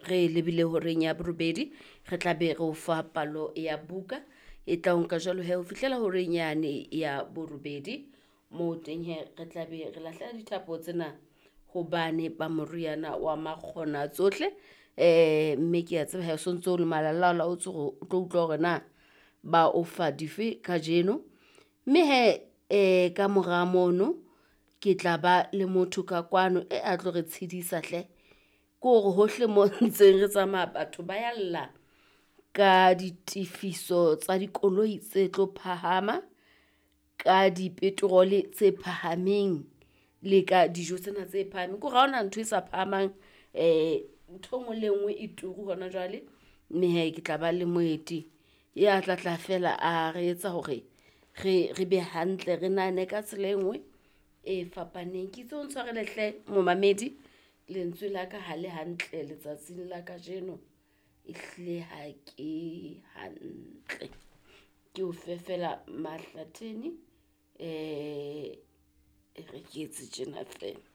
Re lebile horeng ya borobedi, re tla be re o fa palo ya buka e tla o nka jwalo he ho fihlela horeng yane ya borobedi. Moo teng he re tla be re lahlela dithapo tsena hobane ba moriana wa makgona tsohle. Mme ke a tseba he o sontso o le malalaalaotswe hore o tlo utlwa hore na ba o fa dife kajeno. Mme he ka mora mono ke tla ba le motho ka kwano e a tlo re tshedisa hle. Ke hore hohle mo ntseng re tsamaya batho ba ya lla ka ditefiso tsa dikoloi tse tlo phahama, ka dipetrole tse phahameng le ka dijo tsena tse phahameng. Ke hore ha hona ntho e sa phahamang, ntho e nngwe le e nngwe e turu hona jwale. Mme hee ke tla ba le moeti ya tlatla feela a re etsa hore re be hantle, re nahane ka tsela e nngwe e fapaneng. Ke itse o ntshwarele hle momamedi, lentswe la ka ha le hantle letsatsing la kajeno, ehlile ha ke hantle. Ke o fe feela Mahlathene, e re ke etse tjena feela.